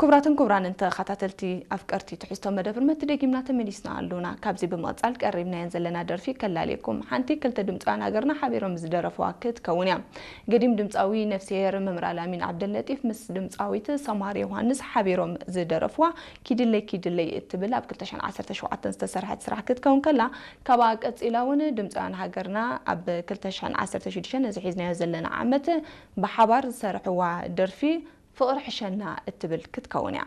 ክቡራትን ክቡራንን ተኸታተልቲ ኣፍቀርቲ ትሕዝቶ መደብ ህርመት ደጊምና ተመሊስና ኣሉና። ካብዚ ብምቕጻል ቀሪብናየን ዘለና ደርፊ ከላልየኩም። ሓንቲ ክልተ ድምፃውያን ሃገርና ሓቢሮም ዝደረፍዋ ክትከውን እያ። ገዲም ድምፃዊ ነፍስሄር መምህር ኣላሚን ዓብደልለጢፍ ምስ ድምፃዊት ሰማር ዮሃንስ ሓቢሮም ዝደረፍዋ ኪድለይ ኪድለይ እትብል ኣብ ክልተ ሽሕን ዓሰርተ ሸውዓተን ዝተሰርሐት ስራሕ ክትከውን ከላ፣ ካብኣ ቀጺላ እውን ድምፃውያን ሃገርና ኣብ ክልተ ሽሕን ዓሰርተ ሽዱሽተን ነዚ ሒዝናዮ ዘለና ዓመት ብሓባር ዝሰርሕዋ ደርፊ ፍቕሪ ሕሸና እትብል ክትከውን እያ።